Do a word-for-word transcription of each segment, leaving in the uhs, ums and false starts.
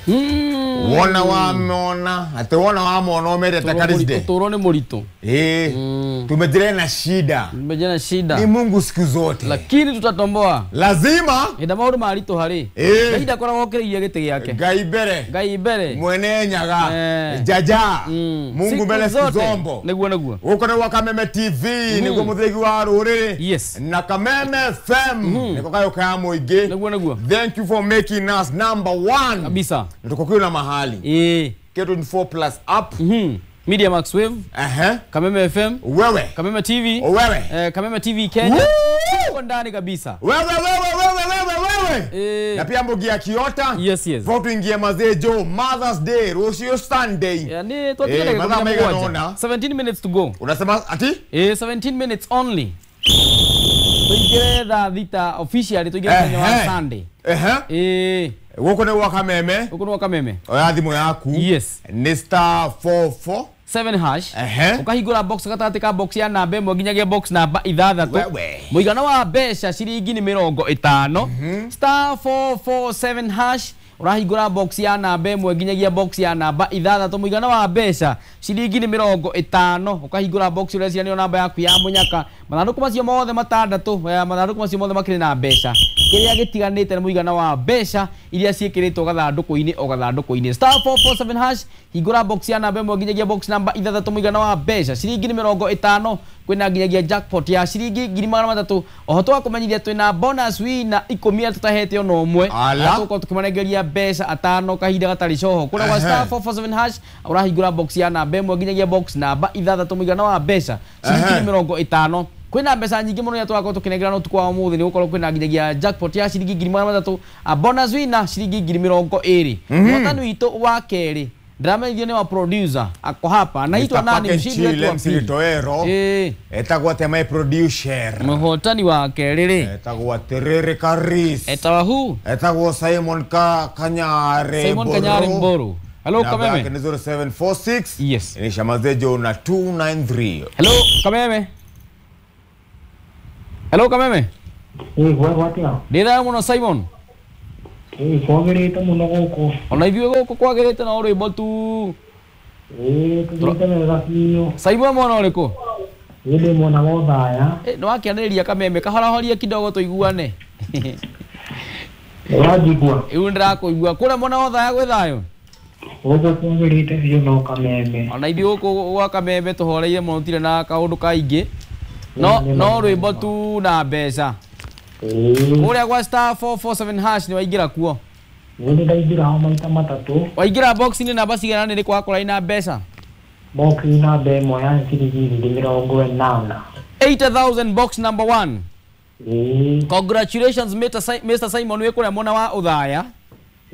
Wona wa mona ati wona wa mona umerete Karisde. Utoro ni murito. Eh. Tumejire na shida. Tumejire na shida. Ni Mungu siku zote. Lakini tutatomboa. Lazima. Enda maundu maritu hari. Eh. Ngai ndakoragwo okireirie giti giake. Ngai mbere. Ngai mbere. Mwene Nyaga. Eh. Jaja. Mm. Mungu mbere siku zombo. Niguo niguo. Guku ni gwa Kameme T V niguo muthigi wa ruriri. Yes. Na Kameme F M niko kayo ka muingi. Niguo niguo. Thank you for making us number one. Kabisa. Tuko kila mahali. Eh. K twenty-four plus app. Mhm. Media Max Wave. Aha. Kameme F M. Wewe. Kameme T V. Wewe. Eh, Kameme T V Kenya. Tuko ndani kabisa. Wewe wewe wewe wewe wewe. Eh. Na pia mbogi ya Kiota. Yes yes. Vote ingie mazee Joe Mother's Day, Rosio Sunday. Yeah, ni tuatige eh, dakika seventeen minutes to go. Unasema ati? Eh, seventeen minutes only. Tuingire thaa thita officially tuingire muthenya wa Sunday. Eh. Eh. Guku ni gwa Kameme. Guku ni gwa Kameme. Oya thimu yaku. Yes. Ni star four four seven hash. Uh-huh. Ukahingura box gatagati ka box ya namba ĩmwe nginyagia box namba ithathatũ. Mũigana wa mbeca ciringi nĩ mĩrongo ĩtano. Star four four seven hash. Urahingura box ya namba ĩmwe nginyagia box ya namba ithathatũ. Mũigana wa mbeca ciringi nĩ mĩrongo ĩtano. Ukahingura box ũreciria nĩyo namba yaku ya mũnyaka. Mathandũkũ macio mothe matandatũ, mathandũkũ macio mothe makĩrĩ na mbeca. Kĩrĩa gĩtiganĩte nĩ mũigana wa mbeca iria ciĩkĩrĩtwo gathandũkũ-inĩ o gathandũkũ-inĩ. Star four four seven hash. Hingũra box ya namba ĩmwe nginyagia box namba ithathatũ. Mũigana wa mbeca ciringi nĩ mĩrongo ĩtano. Kwĩna nginyagia jackpot ya ciringi ngiri magana matatũ. Oho twakumenyithia twĩna bonus winner ikũmi arĩa tũtahete ona ũmwe. Tũgũkorwo tũkĩmanengeria mbeca atano kahinda gatarĩ coho. Kũrĩa gwa star four four seven hash ũrahingũra box ya namba ĩmwe nginyagia box namba ithathatũ. Mũigana wa mbeca ciringi nĩ mĩrongo ĩtano. Kwĩna mbeca nyingĩ mũno iria tũgakorwo tũkĩnengerana ũtukũ wa ũmũthĩ nĩ gũkorwo kwĩna nginyagia jackpot ya ciringi ngiri magana matatũ, a bonus winner ciringi ngiri mĩrongo ĩrĩ. Mũhotani witũ wa kerĩ ndĩramenyithio nĩ wa producer ako hapa anaitwa nani mshindi wetu wa pili? Eh. Etagwo atĩa my producer? Mũhotani wa kerĩ rĩ etagwo atĩrĩrĩ Karis. Etagwo who? Etagwo Simon ka Kanyare. Simon Kanyare Mboro. Hello Kameme. Namba zero seven four six. Yes. Ni Shamazejo na two nine three. Hello Kameme. Hello Kameme. Eh, gwa atia? Ndĩ thayũ mũno Simon. Eh, kwagĩrĩte mũno gũkũ. Ona ithuĩ gũkũ kwagĩrĩte no rwĩmbo tu. Eh, tũthiĩte wega biũ. Simon mwana ũrĩkũ? Ĩ ndĩ mwena wa Othaya. Eh, nĩwakĩanĩrĩria Kameme kahorahoria kidogo tũiguane. Nĩwanjigua? Rĩu nĩndĩrakũigua. Kũrĩa mwena wa Othaya gwĩ thayũ? Gũkũ kwagĩrĩte biũ no Kameme. Ona ithuĩ gũkũ gwa Kameme tũhoreire mũno tũtirĩ na kaũndũ kaingĩ. No no rwĩmbo tu na mbeca. Kũrĩa gwa star four four seven hash nĩwaingĩra kuo? Nĩ ndaingĩra ho maita matatũ. Waingĩra box-inĩ namba cigana nĩ wakora ina mbeca? Box namba ĩmwe ya ciringi ngiri mĩrongo ĩnana. eighty thousand box number one. Ĩĩ. Congratulations Mister Simon wĩ kũrĩa mwena wa Othaya.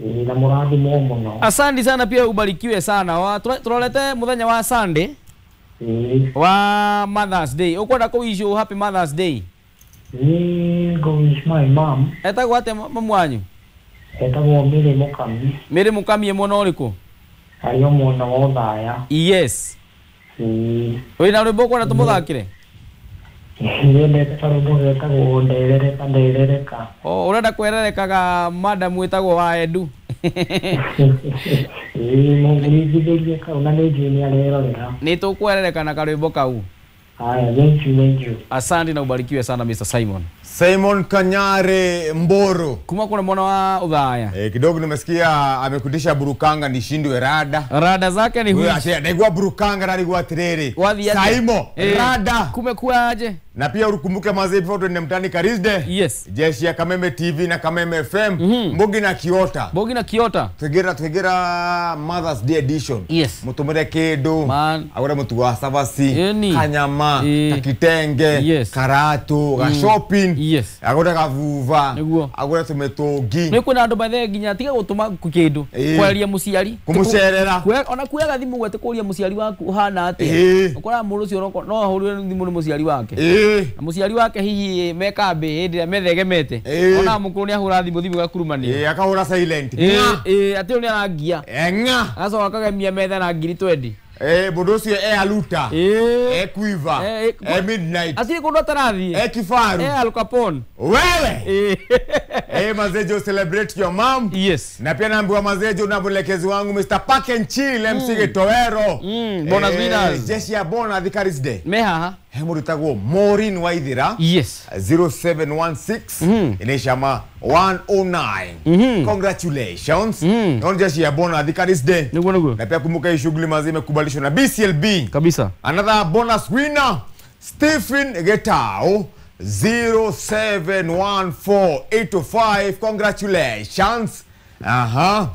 Ĩĩ na mũrathimwo mũno. Asante sana pia ubarikiwe sana. Tũrorete mũthenya wa Sunday. Ĩĩ. Wa Mother's Day. Ũkwenda kũwish happy Mother's Day? Ĩĩ, go wish my mom. Etagwo atĩa mamu wanyu? Etagwo Mary Mũkami. Mary Mũkami e mwena ũrĩkũ? Arĩ o mwena wa Othaya. Yes. Ĩĩ. Wĩna rwĩmbo ũkwenda tũmũthakĩre? Nyendete karwĩmbo getagwo nderereka nderereka. Oh, ũrenda kwererekaga madam wĩtagwo wa Edu. Ĩĩ, mũngĩringithĩrie kau na nĩ njũĩ nĩ arerorera. Nĩ tũkwerereka na karwĩmbo kau. Haya, thank you, thank you. Asante na ubarikiwe sana Mister Simon. Simon Kanyare Mboro. Kuma kuna mwana wa Othaya. Eh, kidogo nimesikia amekudisha burukanga nishindwe rada. Rada zake ni huyu. Ndaigua burukanga na nigua tiriri. Saimo, eh, rada. Kumekuwa aje? Na pia ukumbuke mazee before tuende mtani Karisde. Yes. Jeshi ya Kameme T V na Kameme F M. Mm -hmm. Mbogi na Kiota. Mbogi na Kiota. Twigera twigera Mother's Day edition. Yes. Mutumire kedo. Man. Agora mutu wa savasi. Yeni. Kanyama. E. Kakitenge. Yes. Karatu. Ga mm. shopping. Yes. Agora kavuva. Niguo. Agora tumetogi. Ni kwina andu bathe nginya tiga gutuma kindu. Kwaria muciari. Kumucerera. Ona kuoyaga thimu gwete kuria muciari waku uhana atia. Ukora mundu ucio no ahurire thimu ni muciari wake. Na muciari wake hihi me kambi hindi ĩrĩa methegemete ona mukuru ni ahura thimu thimu gakurumania eh akahura silent eh eh ati ni arangia eh nga agacoka akagemia metha na ngiri twenty Eh, mundu ucio e aluta. Eh. E quiver. Eh, E midnight. Atirĩ kũndũ atarathiĩ. E kifaru. E Al Capone. Wewe. Eh. Eh, mazejo celebrate your mom. Yes. Na pia naambiwa mazejo na mwelekezi wangu Mister Park and Chill M C Gitowero. Mm, bonus Eh, winners. Jeshi ya bona Thikaris Day. Me haha. He mundu tagwo Maureen Waithira. Yes. zero seven one six inaisha ma one oh nine. Congratulations. Mm. Non jeshi ya bona Thikaris Day. Niguo niguo. Na pia kumbuka hii shughuli mazee imekubalishwa na B C L B. Kabisa. Another bonus winner Stephen Getao zero seven one four eight two five. Congratulations. Aha.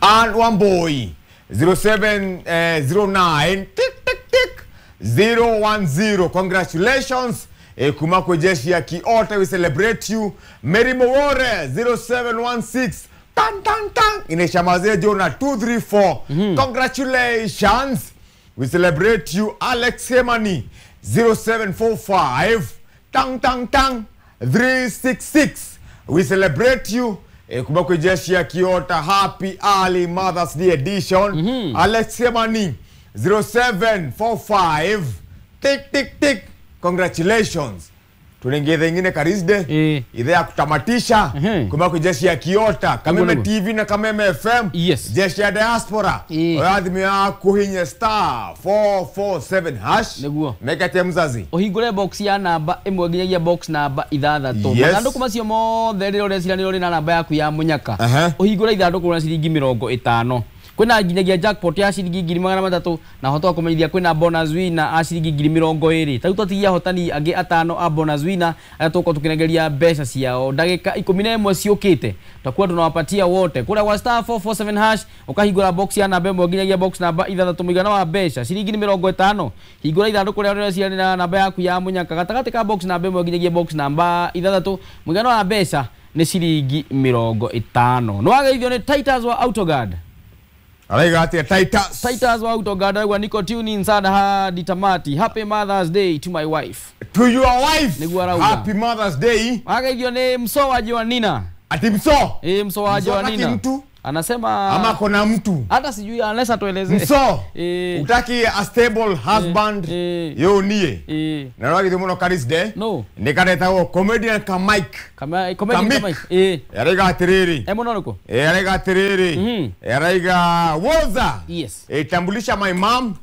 And one boy zero seven zero nine tick tick tick zero one zero. Congratulations. E, kumako jeshi ya Kiota, we celebrate you. Mary Mowore zero seven one six tan tan tan inaisha mazee Jona two three four. Congratulations. We celebrate you. Alex Hemani zero seven four five tang tang tang three six six. We celebrate you. E, kumako jeshi ya Kiota, happy early Mother's Day edition. Mm-hmm. Alex Hemani zero seven four five tick tick tick. Congratulations. Tunaingia ingine Karisde. Eh. Idhaa ya kutamatisha. Mhm. Kumako jeshi ya Kiota, Kameme Niguo. T V na Kameme F M. Yes. Jeshi ya diaspora. Eh. Oyathimi ya kuhinye star four four seven hash. Niguo. Mekate mzazi. Ũhingũre box ya namba ĩmwe nginyagia box namba ithathatũ. Yes. Mathandũkũ macio mothe rĩrĩa ũreciria nĩ ũrĩ na namba yaku ya mũnyaka. Aha. Ũhingũre ithandũkũ rĩa ciringi mĩrongo ĩtano. Kwĩna nginyagia jackpot ya ciringi ngiri magana matatũ na hoto wa kũmenyithia kwĩna bonus winner a ciringi ngiri mĩrongo ĩrĩ. Ta rĩu twatigia ahotani angĩ atano a bonus winner arĩa tũgũkorwo tũkĩnengeria mbeca ciao ndagĩka ikũmi na ĩmwe ciũkĩte. Tutakuwa tunawapatia wote. Kũrĩa gwa star four four seven hash ũkahingũra box ya namba ĩmwe nginyagia box namba ithathatũ mũigana wa mbeca ciringi nĩ mĩrongo ĩtano. Hingũra ithandũkũ rĩa ũreciria na namba yaku ya mũnyaka gatagatĩ ka box namba ĩmwe nginyagia box namba ithathatũ mũigana wa mbeca nĩ ciringi mĩrongo ĩtano. Nĩwageithio nĩ Titus wa Autoguard. Araiga atia Titus. Titus wa Autoguard arauga niko tune in sana hadi tamati. Happy Mother's Day to my wife. To your wife. Niguo arauga. Happy Mother's Day. Wageithio nĩ Mso wa Joanina. Ati Mso? Eh, Mso wa Mso hataki Joanina. mtu? Anasema ama kona mtu. Hata sijui unless atueleze. Mso. Eh. Utaki a stable husband. Eh. Yo nie. Eh. Na rwagi muno Karis Day. No. Nikareta comedian ka Mike. Kama comedian ka Kamik. Mike. Eh. Yaraiga atiriri. Eh muno niko. Eh yaraiga atiriri. Mhm. Yaraiga woza. Yes. Eh, tambulisha my mom.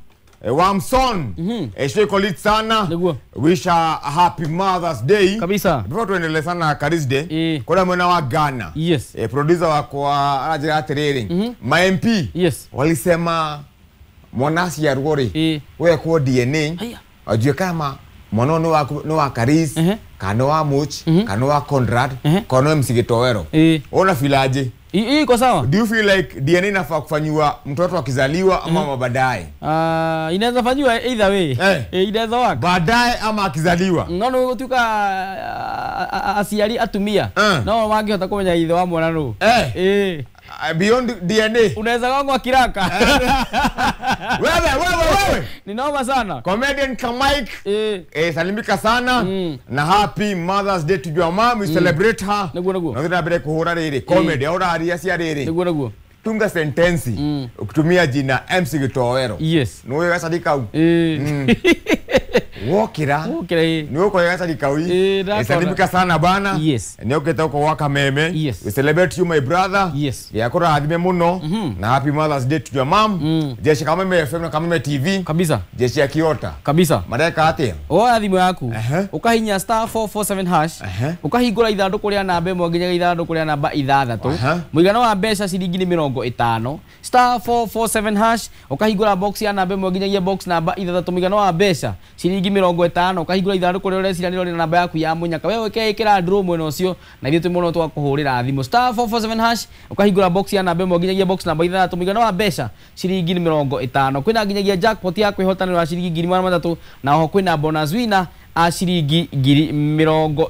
Eh, Wamson. Mhm. Eh, sheko sana. Niguo. Wish her a happy Mother's Day. Kabisa. Before tuendelee sana Karis Day. Eh. Kuna mwana wa Ghana. Yes. Eh, producer wako anajira atiriri. Mm -hmm. Ma M P. Yes. Walisema mwanasi ya Rwori. Eh. Wewe kwa D N A. Haya. Ajue kama mwana no wa no wa Karis, Uh -huh. kana wa Moch, Mm -hmm. kana wa Conrad, Uh -huh. kana wa Msigitowero. Eh. Una feel aje? Hii iko sawa? Do you feel like D N A inafaa kufanywa mtoto akizaliwa ama mm -hmm. baadaye? Ah, uh, inaweza fanywa either way. Eh. Eh, inaweza work. Baadaye ama akizaliwa. No no gutuka aciari atumia. Uh. No mangĩhota kũmenya ithe wa mwana nũ. Eh. Eh. Uh, beyond D N A. Unaweza gongwa kiraka. Wewe wewe wewe. Ni noma sana. Comedian Kamike. Eh. Eh, salimika sana. Mm. Na happy Mother's Day to your mom. We mm. celebrate her. Niguo niguo. Na thina mbere kuhura riri comedy eh. Ora aria cia riri. Niguo niguo. Tunga sentensi mm. ukitumia jina M C Gitowero. Yes. Niwe gacarika u. Eh. Mm. Wokira. Wokira eh. Niwe ko gacarika u. Eh, eh, salimika sana bana. Yes. Ni ukita uko waka meme. Yes. We celebrate you my brother. Yes. Yakora adime muno. Mm -hmm. Na happy Mother's Day to your mom. Mm. Jeshi Kameme F M na Kameme T V. Kabisa. Jeshi ya Kiota. Kabisa. Mareka atia. Oya thimu yaku. Uh -huh. Ukahinya star four four seven hash. Uh -huh. Ukahingũra ithandũkũ rĩa namba ĩmwe nginyagia ithandũkũ rĩa namba ithathatũ. Uh -huh. Mũigana wa mbeca ciringi nĩ mĩrongo ĩtano. Star four four seven hash ukahingũra box ya namba ĩmwe nginyagia box namba ithathatũ mũigana wa mbeca ciringi mĩrongo ĩtano. Ukahingũra ithandũkũ rĩa ũreciria nĩrĩo rĩna namba yaku ya mũnyaka. Wewe wĩkĩra draw mwena ũcio na ithuĩ twĩ mũno twakũhũrĩra thimũ. Star four four seven hash ukahingũra box ya namba ĩmwe nginyagia box namba ithathatũ mũigana wa mbeca ciringi nĩ mĩrongo ĩtano. Kwĩna nginyagia jackpot ya kwĩhotanĩra ciringi ngiri magana matatũ na oho kwĩna bonus winner a ciringi ngiri mĩrongo